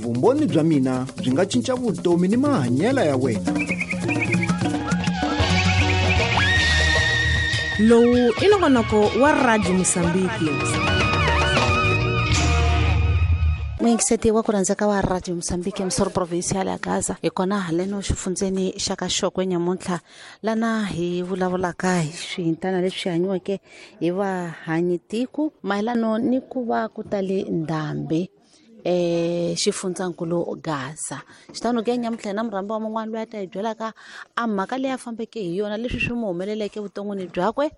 Vumbhoni bya mina byi nga cinca vutomi ni mahanyelo ya wena. Lowu i nongonoko wa Radio Mosambiki. Muyingiseti wa ku rhandzeka wa Radio Mosambiki, Musoro Provincial ya Gaza, hi kona haleno xifundzeni xa ka Xokwe nyamuntlha, lana hi vulavulaka hi swihintana leswi hanyiweke hi vahanyitiko mayelano ni ku va ku tale ndhambi xifundzankulu Gaza. Xitano ke nyamuntlha na murhambi wa mun'wana loyi a ta hi byelaka a mhaka leyi a fambeke hi yona, leswi swi n'wi humeleleke vuton'wini byakwe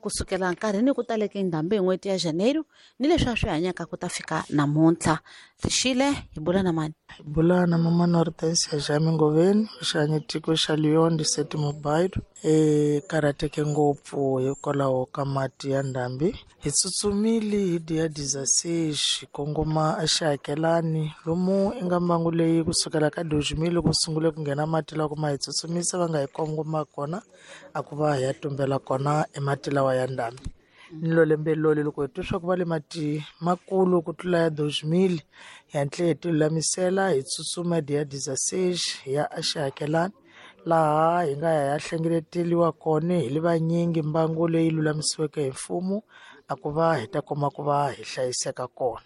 kusukela nkarhini ku taleke ndhambi hi n'hweti ya Janeiro ni leswi a swi hanyaka ku ta fika namuntlha. Rixile, hi bula na mani? Hi bula na mama Nortensia Jami Ngoveni, xihanyitiko xa Leon de Sete Mobile. E karhateke ngopfu hikwalaho ka mati ya ndhambi. Hi tsutsumile hi dia 16 hi kongoma exihakelani lomu i nga mbangu leyi kusukela ka 2000 ku sungule ku nghena mati lawa kuma hi tsutsumisa va nga hi kongoma kona a ku va hi ya tumbela kona emati lawa ya ndhambi. Ni lo lembe loli loko hi twa swa ku va le mati makulu ku tlula ya 2000 hi hatle hi ti lulamisela hi tsutsuma dia 16 hi ya exihakelani laha hi nga ya ya hlengeleteliwa kona hi le vanyingi mbangu leyi lulamisiweke hi mfumo a ku va hi ta kuma ku va hi hlayiseka kona.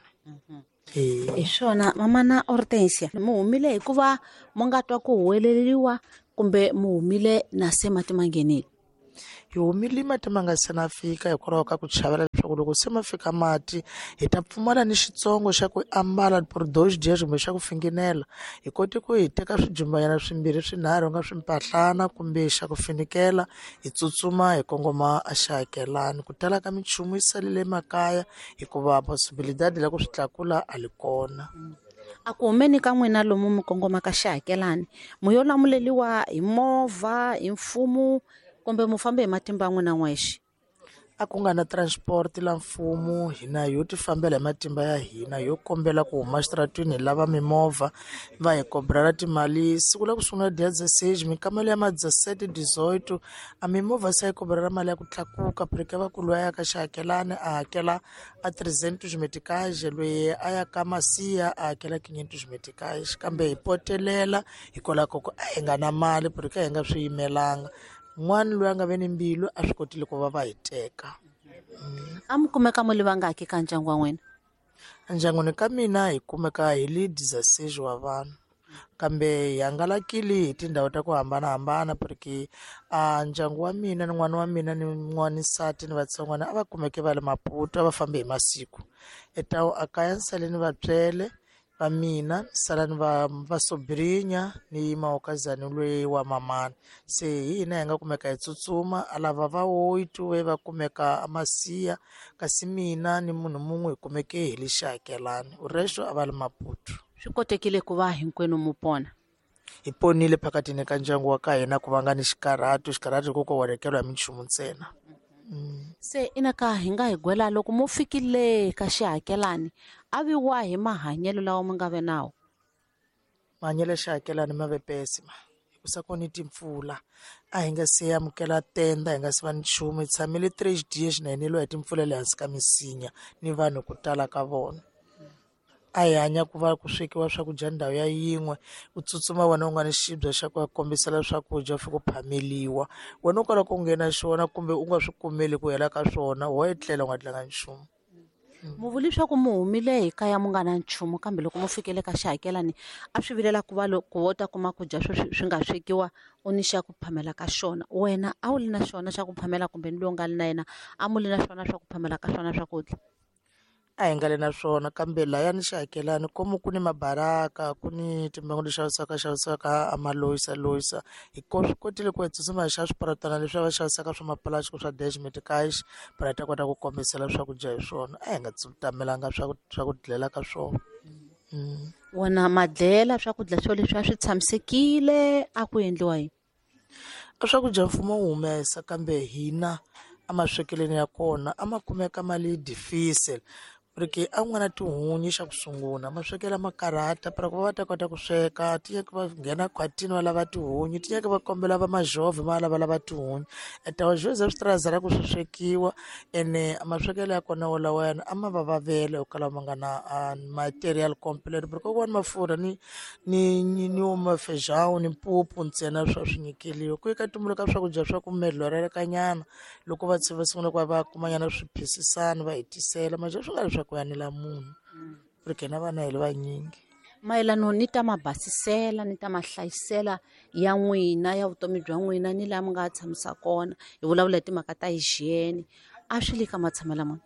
Hi swona mamana Hortensia, mu humile hikuva mu nga twa ku huweleriwa kumbe mu humile na se mati ma nghenile? Hi humile mati ma nga se na fika hikwalaho ka ku chavela leswaku loko se ma fika mati hi ta pfumala ni xitsongo xa ku ambala por dois dias kumbe xa ku finginela. Hi kote ku hi teka swijumbanyana swimbirhi swinharhu nga swimpahlana kumbe xa ku finikela, hi tsutsuma hi kongoma exihakelani. Ku tala ka minchumu yi salele makaya hikuva possibilidade la ku swi tlakula a li kona. A ku humeni ka n'wina lomu mi kongomaka xihakelani, mu yo lamuleliwa hi movha, hi mfumo, kumbe mu fambe hi matimba ya n'wina n'wexe? A ku nga na transport la mfumo, hina yo ti fambela hi matimba ya hina, yo kombela ku huma xitaratwini hi lava mimovha va hi kobrela timali. Siku la ku sungula dia 16 mikamelo ya ma 17 18 a mimovha se yi kobrela mali ya ku tlakuka, porque va ku loyi a ya ka xihakelani a hakela a 300 meticage, loyi a ya ka Masiya a hakela 500 meticage. Kambe hi potelela hikwalaho ka ku a hi nga na mali, porque a hi nga swi yimelanga. N'wana loyi a nga ve ni mbilu a swi kotile ku va va hi teka. A mi kumeka mu li vangaki ka ndyangu wa n'wina? Endyangwini ka mina hi kumeka hi li 16 wa vanhu, kambe hi hangalakile hi tindhawu ta ku hambanahambana, porque a ndyangu wa mina ni n'wana wa mina ni n'wanisati ni vatsongwana a va kumeke va le Maputo, a va fambe hi masiku. Etawu a kaya ni sale ni vatswele va mina, ni sala ni va sobrinya ni mawukazani loyi wa mamana. Se hi hina hi nga kumeka hi tsutsuma, a lava va oito ve va kumeka a Masiya, kasi mina ni munhu mun'we hi kumeke hi le xihakelani, resto a va le Maputo. Swi kotekile ku va hinkwenu mu pona? Hi ponile phakatini ka ndyangu wa ka hina ku va nga ni xikarhato, xikarhato ku ko onhakeriwa hi minchumu ntsena. Se ina ka hi nga hi gwela loko mu fikile ka xihakelani, a vi wa hi mahanyelo lawa mu nga ve nawo? Mahanyelo ya xihakelani ma ve pessima, hikusa ku ni timpfula, a hi nga se amukela tenda, hi nga se va ni nchumu, hi tshamile 3 days na hi neliwa hi timpfula le hansi ka misinya ni vanhu ku tala ka vona. A hi hanya ku va ku swekiwa swakudya ndhawu ya yin'we, u tsutsuma wena u nga ni xibye xa ku ya kombisela swakudya u fika u phameliwa, wena u kala ku nghena xona kumbe u nga swi kumeli ku hela ka swona, wo etlela u nga dlanga nchumu. Mu vuli swa ku mu humile hi kaya mu nga na nchumu, kambe loko mu fikele ka xihakelani a swi vilela ku va loko wo ta kuma ku dya swo swi nga swekiwa u ni xa ku phamela ka xona. Wena a wu li na xona xa ku phamela kumbe ni loyi u nga li na yena a mu li na xona swa ku phamela ka swona swakudya? A hi nga le na swona, kambe lahaya ni xihakelani komu ku ni mabaraka, ku ni timbangu leti xavisiwaka xavisiwaka a maloyisa loyisa. Hi swi kotile ku hi tsutsuma hi xava swiparatana leswi va xavisaka swa mapulastiki swa dash meticage, para hi ta kota ku kombisela swakudya hi swona. A hi nga tamelanga swa ku dlela ka swona. Wona madlela swakudya swo leswi a swi tshamisekile, a ku endliwa yini? A swakudya mfumo wu humesa, kambe hina a maswekeleni ya kona a ma kumeka mali difficile. Porque a ku nga na tihunyi xa ku sungula maswekelo ma karhata para ku va va ta kota ku sweka ti nyaka va nghena khwatini va lava tihunyi ti nyaka va kombela va majovho va lavalava tihunyi etawa swi tirazela ku swi swekiwa ene maswekelo ya kona wolawayana a ma va vavela hikwalaho ma nga na material complete porque kokwana mafurha ni ni ni ni wo mafejawu ni mpupu ntsena swa swi nyikeliwa ku eka tumbuluka swakudya swa ku melorelekanyana loko va va sungula ku va va kumanyana swiphisisana va hi tisela maje swi nga ri swa ku yanela munhu porque na vana hi le vanyingi. Mayelano ni ta mabasisela ni ta mahlayisela ya n'wina ya vutomi bya n'wina ni laha mi nga tshamisa kona hi vulavula hi timhaka ta hygiene a swi le ka matshamelo mani?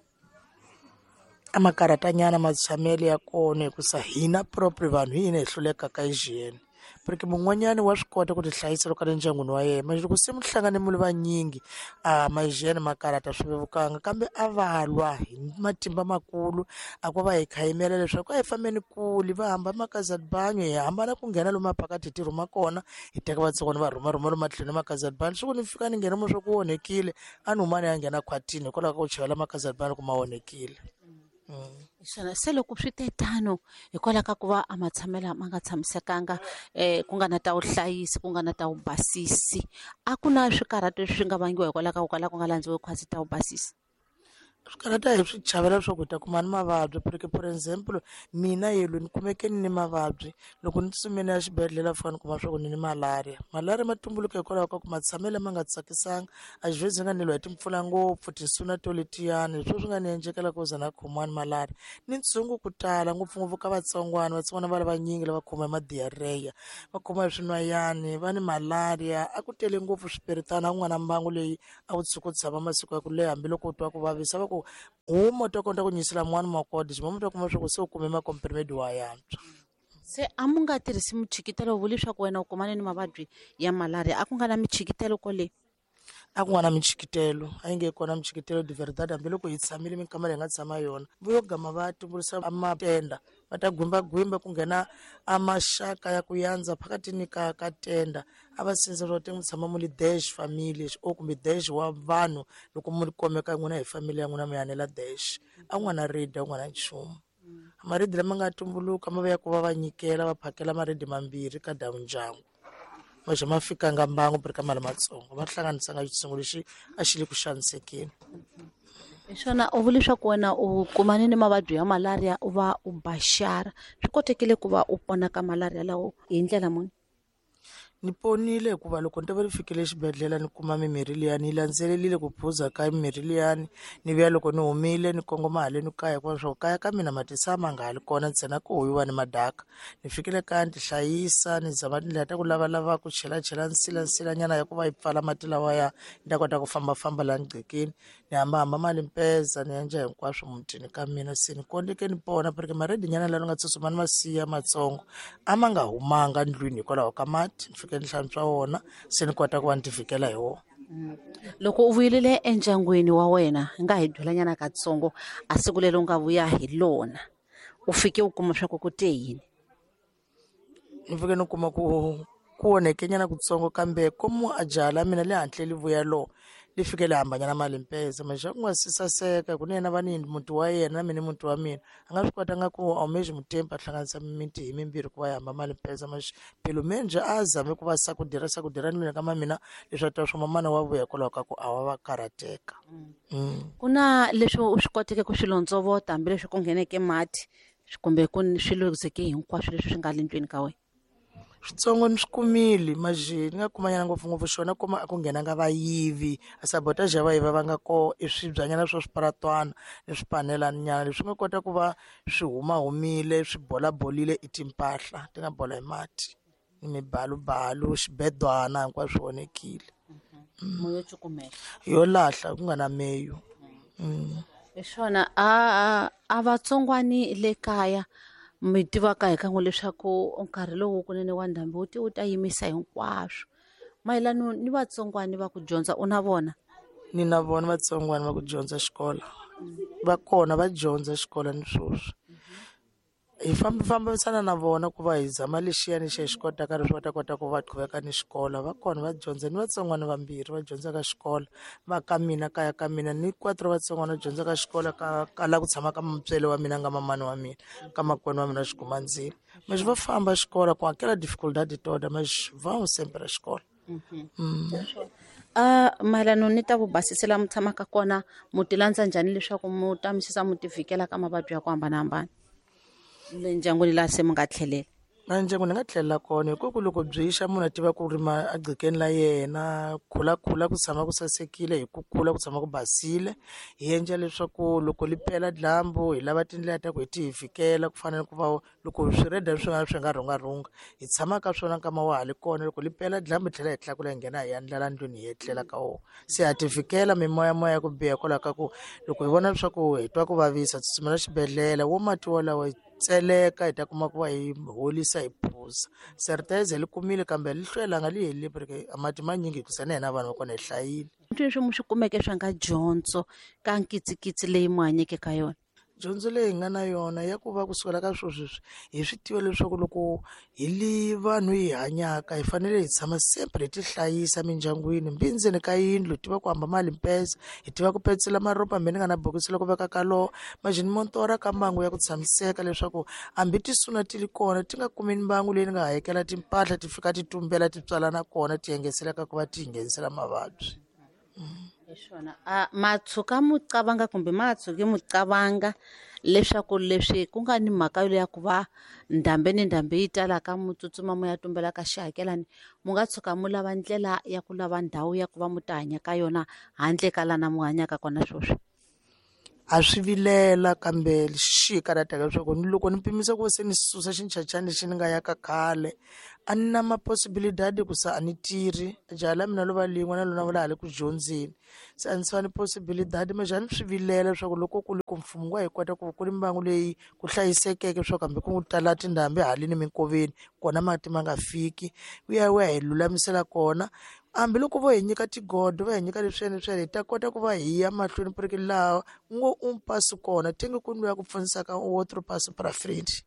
A ma karhatanyana matshamelo ya kona hikusa hina proper vanhu hi hina hi hlulekaka hygiene porque mun'wanyani wa swi kota ku ti hlayisa loko a le ndyangwini wa yena manje loko se mi hlangane mi ri vanyingi a ma-hygiene ma karhata swi vevukanga kambe a va lwa hi matimba makulu a ku va hi khayimela leswaku a hi fambeni kule va hamba makazalibanyo hi hambana ku nghena lomu maphakathi hi ti rhuma kona hi teka vatsongwana va rhuma rhuma lomu matlhelo makazalibanyo siku ni fika ni nghena mo swa ku onhekile a ni huma ni ya nghena khwatini hikwalaho ka ku chavela makazalibanyo ku ma onhekile. Swona se loko swi te tano hikwalaho ka ku va a matshamelo ma nga tshamisekanga ku nga na ta vuhlayisi ku nga na ta vubasisi a ku na swikarhato leswi nga vangiwa hikwalaho ka ku kala ku nga landziwi khwatsi ta vubasisi? Swikarhata hi swi chavela leswaku hi ta kuma ni mavabyi porque for example mina yelo ni kumeke ni ni mavabyi loko ni tsutsumile ya xibedhlele fika ni kuma swa ku ni ni malaria. Malaria ma tumbuluka hikwalaho ka ku matshamelo ma nga tsakisanga a xivhezi nga neliwa hi timpfula ngopfu tinsuna to letiyani hi swo swi nga ni endlekela ku za na khomiwa ni malaria ni ntshungu ku tala ngopfungopfu ka vatsongwana vatsongwana va lavanyingi lava khoma hi ma-diarrhea va khoma hi swinwayani va ni malaria a ku tele ngopfu swipiritana a ku nga na mbangu leyi a wu tshuka u tshama masiku ya ku leha hambiloko u twa ku vavisa va ku huma u ta kota ku nyisela mun'wani makode ximomo ta kuma swa ku se u kume makomprimedi wa yantswa. Se a mu nga tirhisi michikitelo vuli leswaku wena u kumane ni mavabyi ya malaria a ku nga na michikitelo kole? A ku nga na michikitelo a yi nge kona michikitelo de verdade hambiloko hi tshamile minkama leyi hi nga tshama yona vo yo gama va tumbuluxa matenda va ta gwimbagwimba ku nghena a maxaka ya ku yandza phakatini ka ka tenda a va sindzisa swa ku tshama mu li dash family o kumbe dash wa vanhu loko mu komeka n'wina hi family ya n'wina mi yanela dash a ku nga na redi a ku nga na nchumu maredi lama nga tumbuluka ma va ya ku va va nyikela va phakela maredi mambirhi ka dawu ndyangu maxe ma fikanga mbangu ka mali matsongo va hlanganisanga xitshungu lexi a xi le ku xanisekeni. Hi swona u vula leswaku wena u kumane ni mavabyi ya malaria u va u baxara swi kotekile ku va u pona ka malaria lawo hi ndlela muni? Ni ponile hikuva loko ni ta va ni fikile exibedhlele ni kuma mimirhi liyani ni landzelelile ku phuza ka mimirhi liyani ni vuya loko ni humile ni kongoma haleni kaya hikuva swa ku kaya ka mina matisa ma nga ha li kona ntsena ku huyiwa ni madaka ni fikile kaya ni ti hlayisa ni zama tindlela ta ku lavalava ku chelachela nsila nsilanyana ya ku va yi pfala mati lawaya ni ta kota ku fambafamba laha nqhekeni ni hambahamba mali mpeza ni endla hinkwaswo mutini ka mina se ni kondeke ni pona porque maredinyana lawa ni nga tsutsuma ni ma siya matsongo a ma nga humanga ndlwini hikwalaho ka mati ni fike ni hlantswa wona se ni kota ku va ni ti vhikela hi wona. Loko u vuyelele endyangwini wa wena nga hi byelanyana katsongo a siku leri u nga vuya hi lona u fike u kuma swa ku ku te yini? Ni fike ni kuma ku ku onhekenyana kutsongo kambe komu a jaha la mina le hantle li vuya lo li fike li hambanyana mali mpeza maxa ku nga si saseka ku ni yena va ni muti wa yena na mina muti wa mina a nga swi kotanga ku a humexi mutempi a hlanganisa mimiti hi mimbirhi ku va yi hamba mali mpeza maxe pelo menje a zame ku va sakudira sakudira ni mina ka mamina leswi a tiva swa mamana wa vuya hikwalaho ka ku a wa va karhateka. Ku na leswi u swi koteke ku swi londzovota hambileswi ku ngheneke mati kumbe ku swi luzeke hinkwaswo leswi swi nga le ndlwini ka wena? Switsongo ni swi kumile maje ni nga kumanyana ngopfungopfu xona kuma a ku nghenanga vayivi a sabotage ya vayivi va nga koho i swibyanyana swa swiparatwana ni swipanelanyana leswi nga kota ku va swi humahumile swi bolabolile i timpahla ti nga bola hi mati ni mibalubalu xibedwana hinkwaswo swi onhekile. Moya cukumela yo lahla ku nga na meyu. Hi swona a vatsongwani le kaya mi tivaka hi kan'we leswaku nkarhi lowu kunene wa ndhambi wu ti wu ta yimisa hinkwaswo mayelano ni vatsongwani va ku dyondza u na vona? Ni na vona vatsongwani va ku dyondza xikolo va kona va dyondza xikolo ni sweswi. Hi fambisana na vona ku va hi zama lexiyani xi hi xi kotaka leswi va ta kota ku va qhuveka ni xikolo. Va kona va dyondza ni vatsongwana vambirhi va dyondzaka xikolo va ka mina kaya ka mina ni quatro vatsongwana va dyondzaka xikolo ka la ku tshama ka mutswele wa mina nga mamani wa mina ka makwenu wa mina xigumandzini. Mas va famba xikolo ku hakela dificuldade toda mas vão sempre a xikolo. Mayelana ni ta vubasisi laha mi tshamaka kona mu ti landza njhani leswaku mu ta misisa mu ti vhikela ka mavabyi ya ku hambanahambana le ndyangwini laha se mi nga tlhelela? Na ndyangu ni nga tlhelela kona hi ku loko byi xa munhu a tiva ku rima egcekeni la yena khulakhula ku tshama ku sasekile hi ku kula ku tshama ku basile. Hi endla leswaku loko li pela dyambu hi lava tindlela ta ku hi ti hi fikela ku fana na ku va loko swireda swin'wana swi nga rhungarhunga hi tshama ka swona nkama wa ha li kona. Loko li pela dyambu hi tlhela hi tlakula hi nghena hi ya ndlela ndlwini hi etlela ka wona. Se ha ti fikela mimoyamoya ya ku biha hikwalaho ka ku loko hi vona leswaku hi twa ku vavisa tsutsumela xibedhlele wo mati wolawo hi tseleka hi ta kuma ku va hi holisa hi phuza. Certeza li kumile kambe li hlwelanga li helile porque mati manyingi hikusa na hina vanhu va kona hi hlayile. Leswi mi swi kumeke swa nga dyondzo ka nkitsikitsi leyi mu hanyeke ka yona? Dyondzo leyi hi nga na yona ya ku va kusukela ka swilo sweswi hi swi tiva leswaku loko hi li vanhu hi hanyaka hi fanele hi tshama sempre hi ti hlayisa mindyangwini mbi ndzeni ka yindlu hi tiva ku hamba mali mpesa hi tiva ku petsela maropa hambi ni nga na bokisi loko veka ka lowo majini montora ka mbangu ya ku tshamiseka leswaku hambi tisuna ti li kona ti nga kumi mbangu leyi ni nga hakela timpahla ti fika ti tumbela ti tswalana kona ti yengeseleka ku va ti nghenisela mavabyi. Hiswona ma tshuka muqabanga kumbe ma tshuki muqabanga leswaku leswi ku nga ni mhaka ya ku va ndhambi ni ndhambi yi talaka mu tsutsuma mu ya tumbela ka xihakelani mu nga tshuka mu lava ndlela ya ku lava ndhawu ya ku va mu ta hanya ka yona handle ka lana mu hanyaka kona sweswi? A swi vilela kambe xi hi karhataka leswaku ni loko ni pimisa ku se ni susa xinchachani lexi ni nga ya ka khale a ni na ma-possibilidade ku sa a ni tirhi jaha la mina lo va lin'we na lona va la ha le ku dyondzeni se a ni swa ni possibilidade mas a ni swi vilela leswaku loko ku ri ku mfumo wa hi kota ku ku ri mbangu leyi ku hlayisekeke leswaku hambi ku tala tindhambi haleni minkoveni kona mati ma nga fiki wu ya wu ya hi lulamisela kona. Hambiloko vo hi nyika tigodo va hi nyika leswiyani leswiyani hi ta kota ku va hi ya mahlweni porque laha ngo un passo kona tenge ku luya ku pfunisaka outro passo para frente.